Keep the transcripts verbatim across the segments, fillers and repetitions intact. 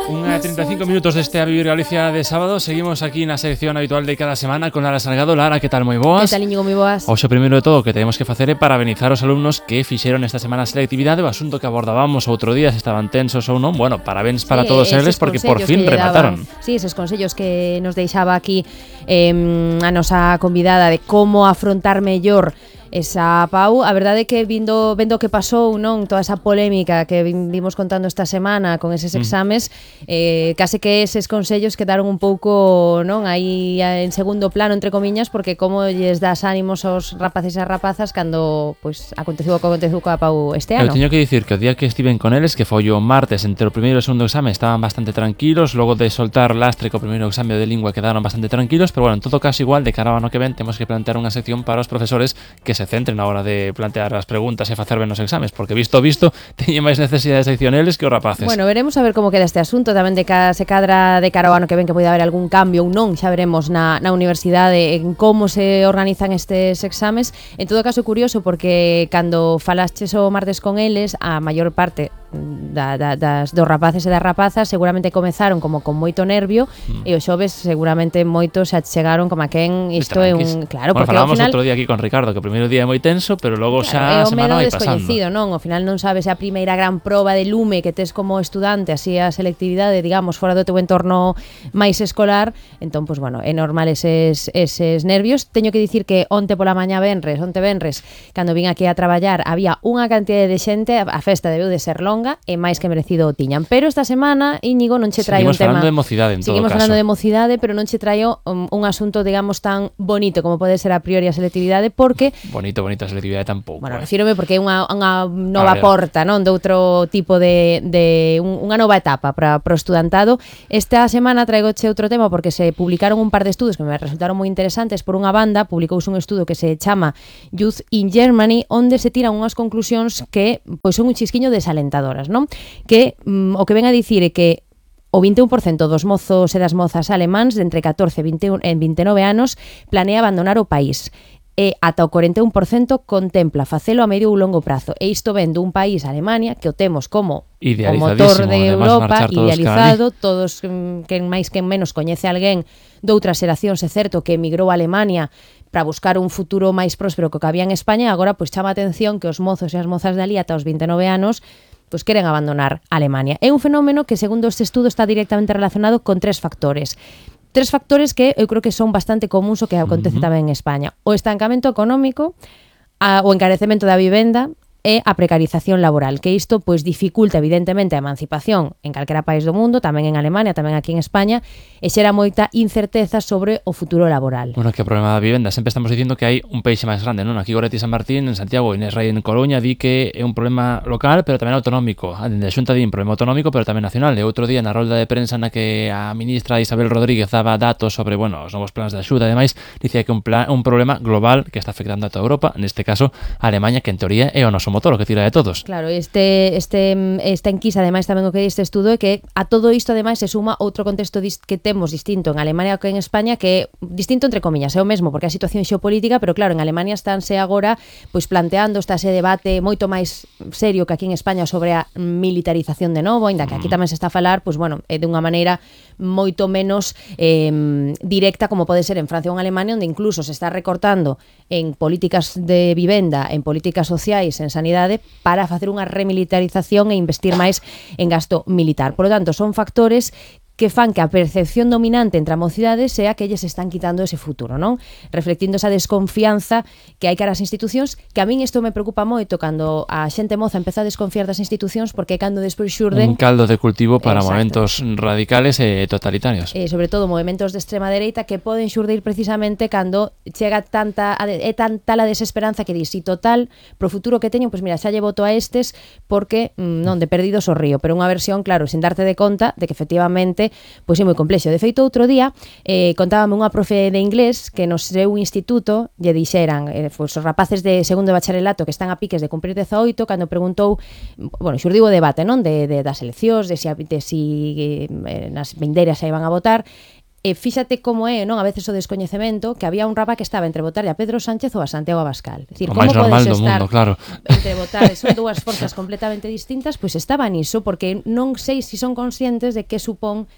Unha trinta e cinco minutos deste A Vivir Galicia de sábado. Seguimos aquí na sección habitual de cada semana con Lara Salgado. Lara, que tal? Moi boas. Que tal, Íñigo? Moi boas. Oxe, primeiro de todo, que temos que facer é parabenizar os alumnos que fixeron esta semana a selectividade. O asunto que abordábamos outro día, se estaban tensos ou non. Bueno, parabéns para sí, todos eles, porque por fin remataron. Sí, esos consellos que nos deixaba aquí eh, a nosa convidada de como afrontar mellor esa Pau. A verdade é que vindo vendo que pasou, non, toda esa polémica que vimos contando esta semana con eses exames, mm. eh, case que eses consellos quedaron un pouco, non, aí en segundo plano, entre comiñas, porque como lles das ánimos aos rapaces e rapazas cando pois aconteceu o que aconteceu coa Pau este ano. Eu teño que dicir que o día que estiven con eles, que foi o martes, entre o primeiro e o segundo exame estaban bastante tranquilos, logo de soltar lastre co primeiro exame de lingua quedaron bastante tranquilos, pero bueno, en todo caso igual de cara ao ano que ven temos que plantear unha sección para os profesores que se centren na hora de plantear as preguntas e facer ben os exames, porque visto visto teñen máis necesidade de sección eles que os rapaces. Bueno, veremos a ver como queda este asunto, tamén de cada se cadra de cara ao ano que ven que pode haber algún cambio ou non, xa veremos na, na universidade en como se organizan estes exames. En todo caso, curioso, porque cando falastes o martes con eles, a maior parte da, da, das, dos rapaces e das rapazas seguramente comezaron como con moito nervio mm. e os xoves seguramente moitos xa chegaron como a quen isto é un... Claro, bueno, porque falamos ao final... outro día aquí con Ricardo que o primeiro día é moi tenso, pero logo claro, xa a semana vai pasando. Descoñecido, non? Ao final non sabes a primeira gran proba de lume que tes como estudante, así a selectividade, digamos, fora do teu entorno máis escolar, entón, pois, bueno, é normal eses, eses nervios. Teño que dicir que onte pola mañá venres, onte venres, cando vin aquí a traballar, había unha cantidade de xente, a festa debeu de ser longa, e máis que merecido o tiñan. Pero esta semana, Íñigo, non che traio un tema... Seguimos falando de mocidade, en todo Seguimos caso. falando de mocidade, pero non che traio un, un asunto, digamos, tan bonito como pode ser a priori a selectividade, porque... Bonito, bonito a selectividade tampouco. Bueno, eh. refírome porque é unha, unha nova porta, non? De outro tipo de... de un, unha nova etapa para o estudantado. Esta semana traigoche outro tema porque se publicaron un par de estudos que me resultaron moi interesantes. Por unha banda, publicouse un estudo que se chama Youth in Germany, onde se tiran unhas conclusións que pois son un chisquiño desalentadoras, non? Que mm, o que ven a dicir é que o vinte e un por cento dos mozos e das mozas alemáns de entre catorce e vinte e vinte e nove anos planea abandonar o país. E ata o corenta e un por cento contempla facelo a medio ou longo prazo. E isto ven dun país, Alemania, que o temos como o motor de Europa, idealizado, todos que máis que menos coñece alguén doutras xeracións, é certo que emigrou a Alemania para buscar un futuro máis próspero que o que había en España. Agora, pois chama a atención que os mozos e as mozas de ali ata os vinte e nove anos pois queren abandonar Alemania. É un fenómeno que, segundo este estudo, está directamente relacionado con tres factores. Tres factores que eu creo que son bastante comuns o que acontece uh-huh. tamén en España. O estancamento económico, a, o encarecemento da vivenda e a precarización laboral, que isto pois dificulta evidentemente a emancipación en calquera país do mundo, tamén en Alemania, tamén aquí en España, e xera moita incerteza sobre o futuro laboral. Bueno, que o problema da vivenda, sempre estamos dicindo que hai un peixe máis grande, non? Aquí Goretti San Martín, en Santiago, Inés Rey en Coruña, di que é un problema local, pero tamén autonómico. A dende a Xunta di un problema autonómico, pero tamén nacional. E outro día na rolda de prensa na que a ministra Isabel Rodríguez daba datos sobre, bueno, os novos planes de axuda, ademais, dicía que un plan, un problema global que está afectando a toda Europa, neste caso a Alemania, que en teoría é o noso motor, o que tira de todos. Claro, este este esta enquisa, ademais tamén o que este estudo é que a todo isto ademais se suma outro contexto que temos distinto en Alemania que en España, que é distinto entre comillas, é o mesmo porque a situación xeopolítica, pero claro, en Alemania estánse agora pois planteando esta ese debate moito máis serio que aquí en España sobre a militarización de novo, ainda que aquí tamén se está a falar, pois bueno, é de unha maneira moito menos eh, directa como pode ser en Francia ou en Alemania, onde incluso se está recortando en políticas de vivenda, en políticas sociais, en sanidade, para facer unha remilitarización e investir máis en gasto militar. Por lo tanto, son factores que fan que a percepción dominante entre a mocidade sea que eles están quitando ese futuro, non? Reflectindo esa desconfianza que hai cara ás institucións, que a min isto me preocupa moito cando a xente moza empeza a desconfiar das institucións, porque cando despois xurden... Un caldo de cultivo para Exacto. Movementos radicales e totalitarios. E sobre todo movementos de extrema dereita que poden xurdir precisamente cando chega tanta é tanta a desesperanza que di, si total, pro futuro que teño, pois mira, xa lle voto a estes porque, non, de perdidos o río, pero unha versión, claro, sin darte de conta de que efectivamente pois é moi complexo. De feito, outro día eh, contábame unha profe de inglés que no seu instituto lle dixeran eh, pois, os rapaces de segundo de bacharelato que están a piques de cumprir dezaoito, cando preguntou, bueno, xurdiu o debate, non? De, de, das eleccións, de si, de si eh, nas vindeiras xa iban a votar, E fíxate como é, non, a veces o descoñecemento, que había un rapaz que estaba entre votarlle a Pedro Sánchez ou a Santiago Abascal. Decir, o máis normal do mundo, claro. Entre votar, son dúas forzas completamente distintas, pois estaba niso, porque non sei se son conscientes de que supón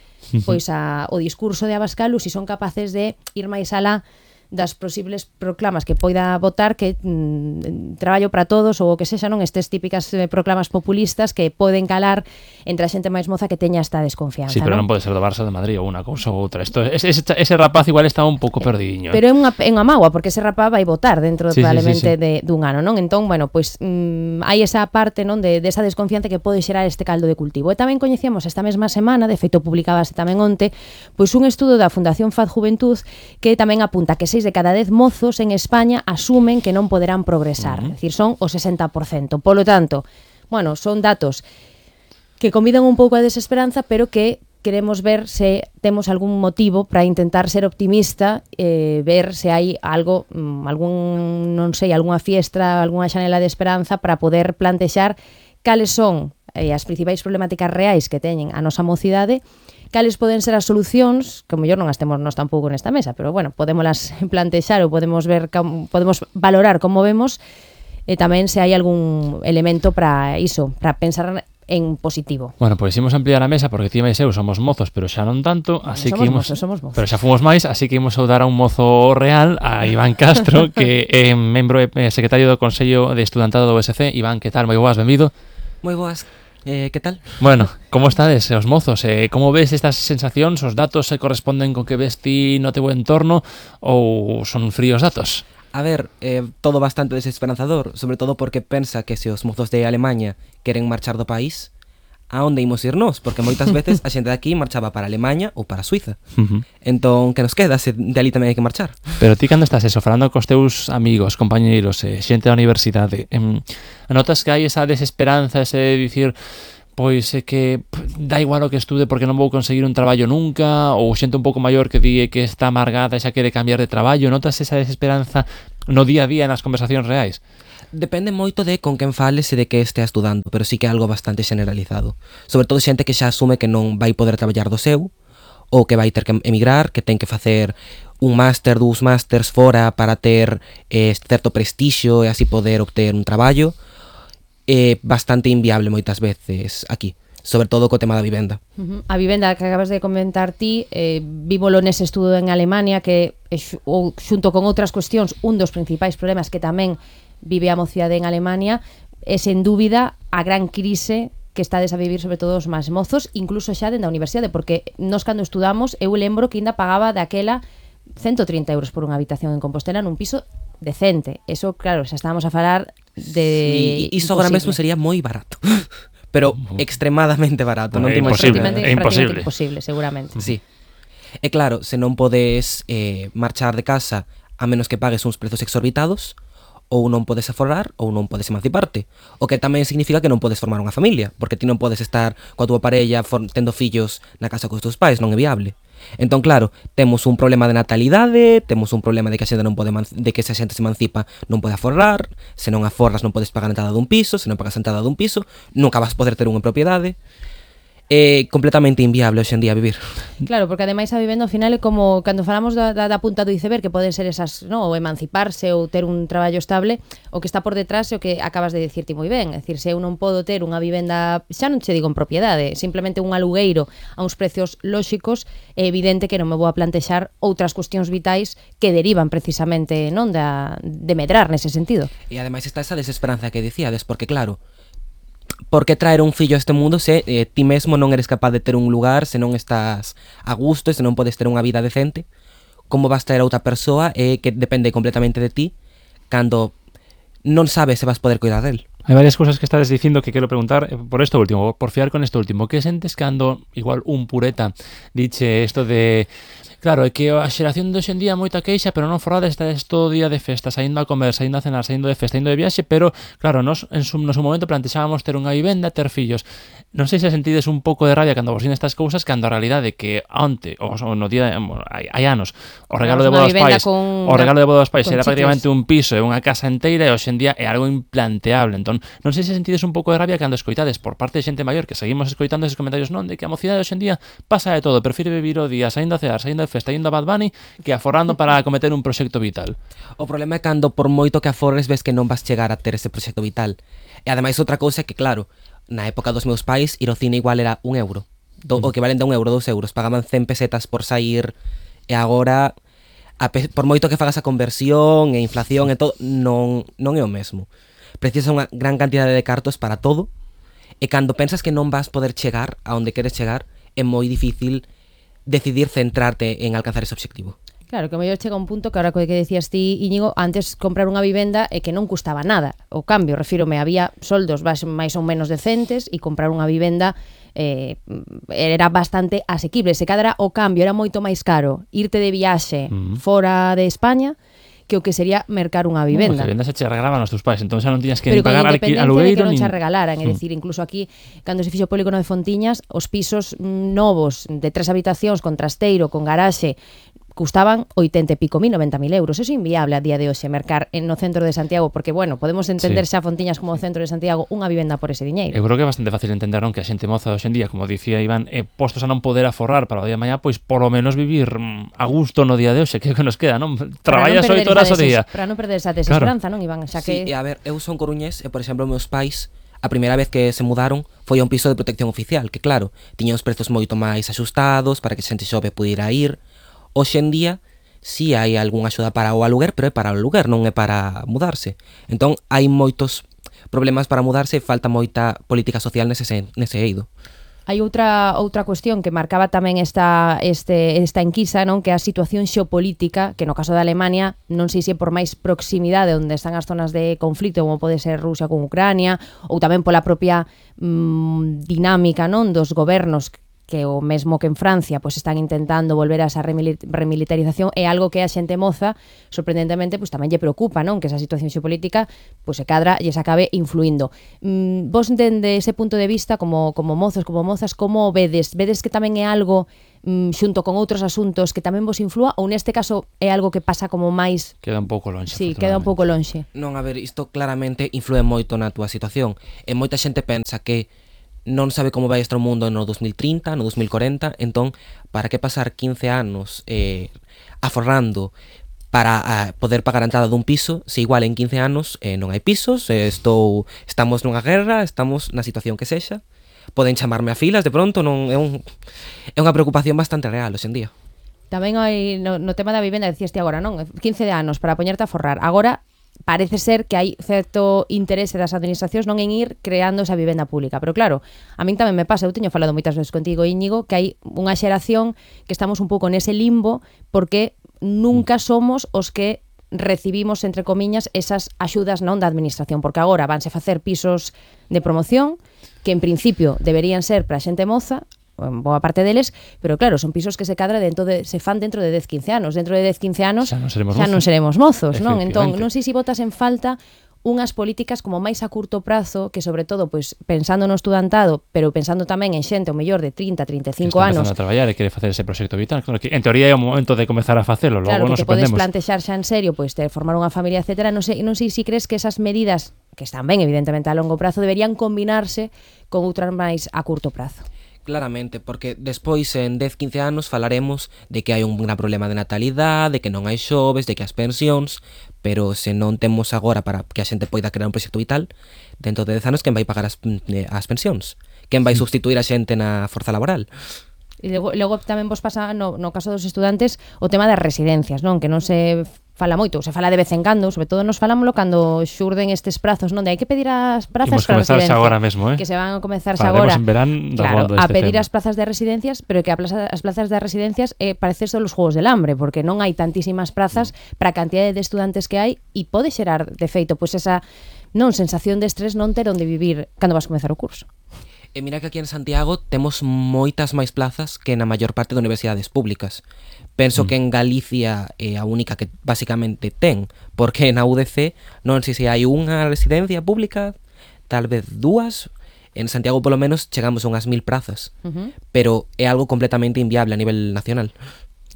pois a, o discurso de Abascal ou se son capaces de ir máis alá das posibles proclamas que poida votar, que mm, traballo para todos ou o que sexa, non, estes típicas eh, proclamas populistas que poden calar entre a xente máis moza que teña esta desconfianza. Sí, pero non, non pode ser do Barça de Madrid ou unha cousa ou outra. Esto, ese, ese, ese rapaz igual está un pouco perdidiño. Pero é unha, é unha mágoa, porque ese rapaz vai votar dentro sí, probablemente sí, sí, sí. de, dun ano, non? Entón, bueno, pois mm, hai esa parte, non, de, de esa desconfianza que pode xerar este caldo de cultivo. E tamén coñecíamos esta mesma semana, de feito publicábase tamén onte, pois un estudo da Fundación Faz Juventud que tamén apunta que seis de cada dez mozos en España asumen que non poderán progresar, uh-huh. É dicir, son o sesenta por cento. Polo tanto, bueno, son datos que convidan un pouco a desesperanza, pero que queremos ver se temos algún motivo para intentar ser optimista, eh, ver se hai algo, algún, non sei, algunha fiestra, algunha xanela de esperanza para poder plantexar cales son eh, as principais problemáticas reais que teñen a nosa mocidade, cales poden ser as solucións, que o mellor non as temos nós tampouco nesta mesa, pero bueno, podémolas plantexar ou podemos ver, podemos valorar como vemos, e tamén se hai algún elemento para iso, para pensar en positivo. Bueno, pois pues, imos ampliar a mesa porque ti e eu somos mozos, pero xa non tanto, así somos que imos, mozos, somos mozos. Pero xa fomos máis, así que imos saudar a un mozo real, a Iván Castro, que é membro e secretario do Consello de Estudantado do U S C. Iván, que tal? Moi boas, benvido. Moi boas. Eh, que tal? Bueno, como estades os mozos? Eh, como ves estas sensacións? Os datos se corresponden con que ves ti no teu entorno ou son fríos datos? A ver, eh, todo bastante desesperanzador, sobre todo porque pensa que se os mozos de Alemanha queren marchar do país, a onde imos ir nós? Porque moitas veces a xente de aquí marchaba para Alemanha ou para Suiza. Uh-huh. Entón, que nos queda se de ali tamén hai que marchar? Pero ti cando estás eso, falando cos teus amigos, compañeiros, eh, xente da universidade, eh, notas que hai esa desesperanza, ese de dicir, pois é que pff, da igual o que estude porque non vou conseguir un traballo nunca, ou xente un pouco maior que di que está amargada e xa quere cambiar de traballo, notas esa desesperanza no día a día nas conversacións reais? Depende moito de con quen fales e de que estea estudando, pero sí que é algo bastante generalizado. Sobre todo xente que xa asume que non vai poder traballar do seu, ou que vai ter que emigrar, que ten que facer un máster, dous másters fora para ter eh, certo prestixio e así poder obter un traballo. É bastante inviable moitas veces aquí, sobre todo co tema da vivenda. Uh-huh. A vivenda que acabas de comentar ti, eh, vívolo nese estudo en Alemania, que é, ou, xunto con outras cuestións, un dos principais problemas que tamén vive a mocidade en Alemania, é sen dúbida a gran crise que estades a vivir sobre todo os máis mozos, incluso xa dende a universidade, porque nós cando estudamos, eu lembro que ainda pagaba daquela ciento trinta euros por unha habitación en Compostela nun piso decente. Eso, claro, xa estábamos a falar de... Sí, iso agora mesmo sería moi barato. Pero uh-huh. extremadamente barato. Non é imposible, é imposible. imposible, seguramente. Sí. E claro, se non podes eh, marchar de casa a menos que pagues uns prezos exorbitados, ou non podes aforrar ou non podes emanciparte, o que tamén significa que non podes formar unha familia, porque ti non podes estar coa túa parella tendo fillos na casa cos teus pais, non é viable. Entón, claro, temos un problema de natalidade, temos un problema de que a xente non pode de que se a xente se emancipa non pode aforrar, se non aforras non podes pagar a entrada dun piso, se non pagas a entrada dun piso, nunca vas poder ter unha propiedade. É completamente inviable hoxe en día vivir. Claro, porque ademais a vivenda ao final é como cando falamos da, da, da punta do iceberg, que poden ser esas, no, ou emanciparse ou ter un traballo estable, o que está por detrás é o que acabas de dicirte moi ben. É dicir, se eu non podo ter unha vivenda, xa non che digo en propiedade, simplemente un alugueiro a uns precios lóxicos, é evidente que non me vou a plantexar outras cuestións vitais que derivan precisamente, non, da, de medrar nese sentido. E ademais está esa desesperanza que dicíades, porque claro, por que traer un fillo a este mundo se eh, ti mesmo non eres capaz de ter un lugar, se non estás a gusto, se non podes ter unha vida decente? Como vas traer a outra persoa eh, que depende completamente de ti cando non sabes se vas poder cuidar del? Hai varias cousas que estades dicindo que quero preguntar por isto último, por fiar con isto último. Que sentes cando igual un pureta diche isto de... Claro, é que a xeración de hoxendía moita queixa, pero non forrada está todo o día de festa, saindo a comer, saindo a cenar, saindo de festa, indo de viaxe, pero claro, nos en su, no seu momento plantexábamos ter unha vivenda, ter fillos. Non sei se sentides un pouco de rabia cando vos din estas cousas, cando a realidade que onte, ou no día, hai, hai anos, o regalo de boda aos pais, o regalo de boda aos pais era prácticamente un piso e unha casa inteira, e hoxendía é algo implanteable. Entón, non sei se sentides un pouco de rabia cando escoitades por parte de xente maior que seguimos escoitando esos comentarios, non, de que a mocidade hoxendía pasa de todo, prefire vivir o día, saindo a cear, saindo de de festa indo a Bad Bunny que aforrando para cometer un proxecto vital. O problema é cando por moito que aforres ves que non vas chegar a ter ese proxecto vital. E ademais outra cousa é que, claro, na época dos meus pais ir ao cine igual era un euro. Do, o que valen de un euro, dos euros. Pagaban cen pesetas por sair e agora, a pe, por moito que fagas a conversión e inflación e todo, non, non é o mesmo. Precisas unha gran cantidade de cartos para todo e cando pensas que non vas poder chegar a onde queres chegar é moi difícil decidir centrarte en alcanzar ese obxectivo. Claro, que o mellor chega un punto que ahora que decías ti, Íñigo, antes comprar unha vivenda e que non custaba nada. O cambio, refírome, había soldos máis ou menos decentes e comprar unha vivenda eh, era bastante asequible. Se cadra o cambio era moito máis caro irte de viaxe uh-huh. fora de España que o que sería mercar unha vivenda. As vivendas se che regalaban os teus pais, entón xa non tiñas que pero pagar alugueiro. Pero con independencia de que non che regalaran, é mm. dicir, incluso aquí, cando se fixo o polígono de Fontiñas, os pisos novos de tres habitacións con trasteiro, con garaxe, custaban oitenta e pico mil, noventa mil euros. Eso é inviable a día de hoxe mercar en no centro de Santiago, porque, bueno, podemos entender sí. xa Fontiñas como o centro de Santiago unha vivenda por ese diñeiro. Eu creo que é bastante fácil entender, non, que a xente moza hoxe en día, como dicía Iván, eh, postos a non poder aforrar para o día de mañá, pois polo menos vivir mm, a gusto no día de hoxe, que é o que nos queda, non? Traballas oito horas o día. Para non perder esa desesperanza, claro. Non, Iván? Xa que... Sí, e a ver, eu son coruñés e, por exemplo, meus pais, a primeira vez que se mudaron foi a un piso de protección oficial, que claro, tiña os prezos moito máis axustados para que a xente xove pudiera ir. Hoxe en día si sí, hai algunha axuda para o aluguer, pero é para o aluguer, non é para mudarse. Entón, hai moitos problemas para mudarse e falta moita política social nese, nese eido. Hai outra outra cuestión que marcaba tamén esta este esta enquisa, non, que é a situación xeopolítica, que no caso da Alemania, non sei se por máis proximidade onde están as zonas de conflito, como pode ser Rusia con Ucrania, ou tamén pola propia mmm, dinámica, non, dos gobernos que o mesmo que en Francia pois están intentando volver a esa remilitarización, é algo que a xente moza sorprendentemente pois tamén lle preocupa, non, que esa situación xeopolítica pois se cadra e se acabe influindo. Mm, vos dende ese punto de vista como como mozos, como mozas, como vedes? Vedes que tamén é algo mm, xunto con outros asuntos que tamén vos inflúa, ou neste caso é algo que pasa como máis... Queda un pouco lonxe. Sí, queda un pouco lonxe. Non, a ver, isto claramente influe moito na túa situación. E moita xente pensa que non sabe como vai estar o mundo no dos mil trinta, no dos mil cuarenta, entón, para que pasar quince anos eh, aforrando para a, poder pagar a entrada dun piso, se igual en quince anos eh, non hai pisos, eh, estou, estamos nunha guerra, estamos na situación que sexa, poden chamarme a filas de pronto, non é, un, é unha preocupación bastante real hoxe en día. Tamén hai, no, no tema da vivenda, decíaste agora, non? quince anos para poñerte a forrar. Agora, parece ser que hai certo interese das administracións non en ir creando esa vivenda pública, pero claro, a min tamén me pasa, eu teño falado moitas veces contigo, Íñigo, que hai unha xeración que estamos un pouco nese limbo porque nunca somos os que recibimos, entre comiñas, esas axudas non da administración, porque agora vanse facer pisos de promoción que en principio deberían ser para a xente moza, boa parte deles, pero claro, son pisos que se cadra dentro de, se fan dentro de dez, quince anos. Dentro de dez, quince anos xa non seremos xa mozos, non seremos mozos, non? Entón, non sei se botas en falta unhas políticas como máis a curto prazo, que sobre todo, pois, pensando no estudantado, pero pensando tamén en xente o mellor de trinta, trinta e cinco anos. Que está empezando a traballar e quere facer ese proxecto vital. Claro, que en teoría é o momento de comezar a facelo, logo claro, nos que te podes sorprendemos. plantexar xa en serio, pois, de formar unha familia, etcétera. Non sei, non sei se crees que esas medidas, que están ben, evidentemente, a longo prazo, deberían combinarse con outras máis a curto prazo. Claramente, porque despois en dez, quince anos falaremos de que hai un gran problema de natalidade, de que non hai xoves, de que as pensións, pero se non temos agora para que a xente poida crear un proxecto vital, dentro de dez anos quen vai pagar as, as pensións? Quen vai substituir a xente na forza laboral? E logo, logo tamén vos pasa, no, no caso dos estudantes, o tema das residencias, non? Que non se fala moito, se fala de vez en cando, sobre todo nos falámoslo cando xurden estes prazos, non? De hai que pedir as prazas para residencia. Agora mesmo, eh? Que se van a comezar agora. En verán, claro, a este pedir tema. as plazas de residencias, pero que a plaza, as plazas de residencias eh, parece son os Juegos del Hambre, porque non hai tantísimas plazas para a cantidade de estudantes que hai e pode xerar, de feito, pois esa non sensación de estrés non ter onde vivir cando vas comezar o curso. E mira que aquí en Santiago temos moitas máis plazas que na maior parte de universidades públicas. Penso mm. que en Galicia é a única que basicamente ten, porque na U D C non sei se hai unha residencia pública, tal vez dúas. En Santiago polo menos chegamos a unhas mil prazas, uh-huh. pero é algo completamente inviable a nivel nacional.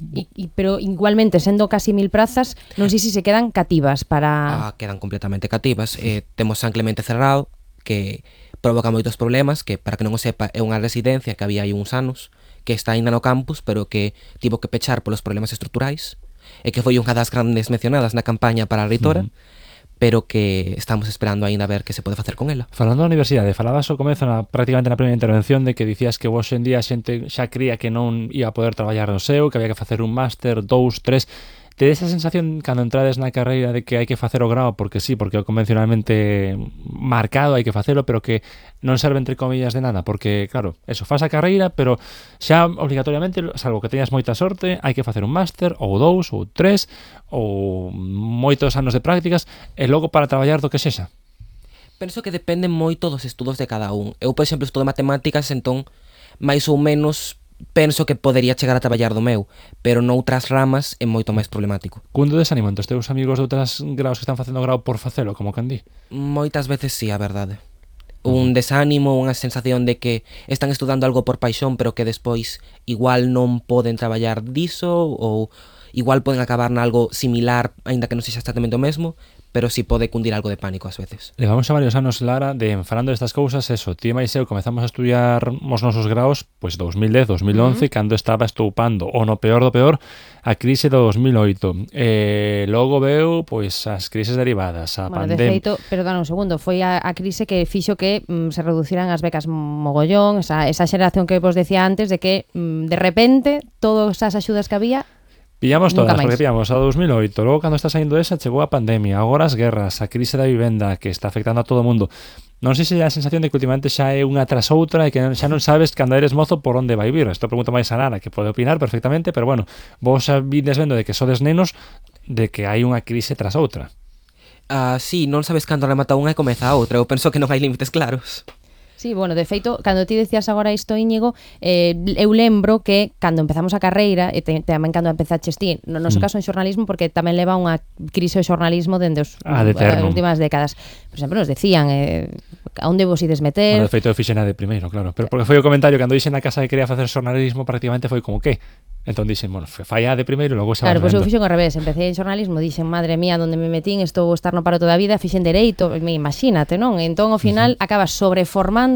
Y, y, pero igualmente, sendo casi mil prazas, non sei se se quedan cativas para... Ah, quedan completamente cativas. Eh, temos San Clemente cerrado, que provoca moitos problemas, que para que non o sepa é unha residencia que había hai uns anos, que está aínda no campus, pero que tivo que pechar polos problemas estruturais, e que foi unha das grandes mencionadas na campaña para a reitora, uh-huh. pero que estamos esperando aínda a ver que se pode facer con ela. Falando da universidade, falabas ao comezo na, prácticamente na primeira intervención de que dicías que hoxe en día a xente xa cría que non ia a poder traballar no seu, que había que facer un máster, dous, tres. Te esa sensación cando entrades na carreira de que hai que facer o grao porque sí, porque é convencionalmente marcado, hai que facelo, pero que non serve entre comillas de nada, porque claro, eso, faz a carreira, pero xa obligatoriamente, salvo que teñas moita sorte, hai que facer un máster, ou dous, ou tres, ou moitos anos de prácticas, e logo para traballar do que sexa. Penso que dependen moito dos estudos de cada un. Eu, por exemplo, estudo matemáticas, entón, máis ou menos penso que podería chegar a traballar do meu, pero noutras ramas é moito máis problemático. Cundo desaniman os teus amigos de outras graus que están facendo grau por facelo, como can di? Moitas veces sí, a verdade. Un desánimo, unha sensación de que están estudando algo por paixón, pero que despois igual non poden traballar diso, ou igual poden acabar nalgo similar, aínda que non sexa exactamente o mesmo, pero si sí pode cundir algo de pánico ás veces. Levamos xa varios anos, Lara, de falando destas cousas, eso, ti e máis eu comezamos a estudiar os nosos graos, pois dos mil dez, dos mil once, uh-huh. cando estaba estoupando, o no peor do peor, a crise do dos mil oito. E logo veu, pois, as crises derivadas, a bueno, pandemia. De feito, perdón un segundo, foi a, a crise que fixo que mm, se reduciran as becas mogollón, esa, esa xeración que vos decía antes, de que mm, de repente todas as axudas que había pillamos todas, porque pillamos a dos mil oito, logo cando está saindo esa chegou a pandemia, agora as guerras, a crise da vivenda que está afectando a todo o mundo. Non sei se é a sensación de que últimamente xa é unha tras outra e que xa non sabes cando eres mozo por onde vai vir. Isto pregunto máis a Lara, que pode opinar perfectamente, pero bueno, vos xa vides vendo de que sodes nenos de que hai unha crise tras outra. Ah, sí, non sabes cando remata unha e comeza a outra. Eu penso que non hai límites claros. Sí, bueno, de feito, cando ti decías agora isto, Íñigo, eh, eu lembro que cando empezamos a carreira, e te, tamén cando empezaches ti, no noso mm. caso en xornalismo, porque tamén leva unha crise o xornalismo dende os, ah, de as últimas décadas. Por exemplo, nos decían eh, a onde vos ides meter... Bueno, de feito, eu fixen a de primeiro, claro. Pero porque foi o comentario, cando dixen na casa que quería facer xornalismo, prácticamente foi como que... Entón dixen, bueno, fai a de primeiro e logo xa... Claro, pois pues eu fixen ao revés, empecé en xornalismo, dixen, madre mía, onde me metín, estou estar no paro toda a vida, fixen dereito, imagínate, non? Entón, ao final, uh-huh. acabas sobreformando